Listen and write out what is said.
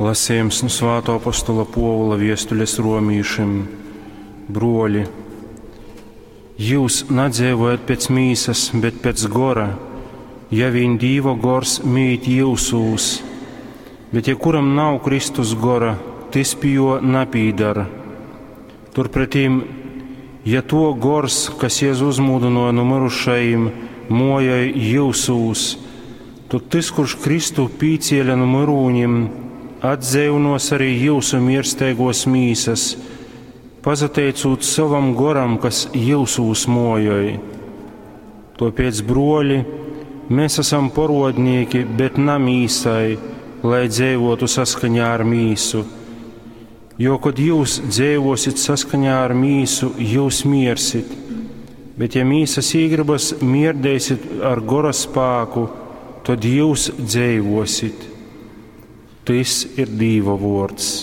Lasījums nu Svātō apostola Pōvula viestules romīšim. Bruoļi, jūs nadzeivojat pēc mīsas, bet pēc gora, ja vīn Dīva gors mīt jyusūs. Bet ja kuram nav Kristus gora, tys pi juo napīdara. Turpretīm, ja to gors, kas Jēzu uzmūdināja no mirušajiem, mojoj jyusūs, tad tys, kurš Kristu pīcēla no myrūņiem, atdzīvinos arī jūsu mirsteigos mīsas, pasateicūt savam goram, kas jyusūs mojoj. Tāpēc, broļi, mēs esam porodnieki, bet na mīsai, lai dzīvotu saskaņā ar mīsu. Jo, kad jūs dzīvosit saskaņā ar mīsu, jūs miersit. Bet, ja mīsas īgribas mierdēsit ar gora spāku, tad jūs dzīvosit. Tys ir Dīva vārds.